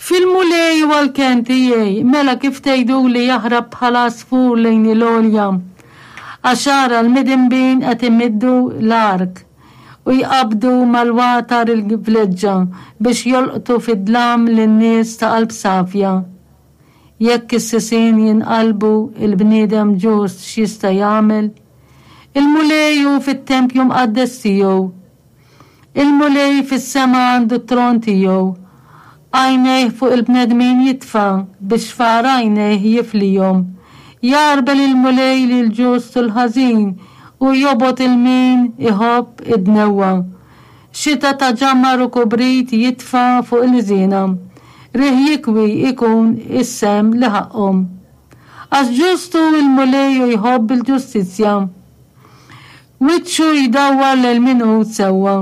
Fil-Mulej huwa l-kenn tiegħi, mela kif tgħiduli jaħrab bħal għasfur lejn il-għolja? Għax ara l-midinbin qed imiddu l-ark u jqabbdu mal-watar il-vleġġa biex jolqtu fid-dlam lin-nies ta' qalb safja. Jekk is-sisien jinqalbu, il-bniedem ġust x'jista' jagħmel? Il-Mulej hu fit-tempju mqaddes tiegħu. Il-Mulej fis-sema għandu t-tron tiegħu. Għajnejh fuq il-bnedmin jitfa', bix-xfar għajnejh jiflihom. Jgħarbel il-Mulej lill-ġust u l-ħażin, u jobgħod 'il min iħobb id-dnewwa. Xita ta' ġamar u kubrit jitfa' fuq il-ħżiena. Riħ jikwi jkun is-sehem li ħaqqhom. Għax ġust hu l-Mulej u jħobb il-ġustizzja. Wiċċu jdawwar lejn min hu sewwa.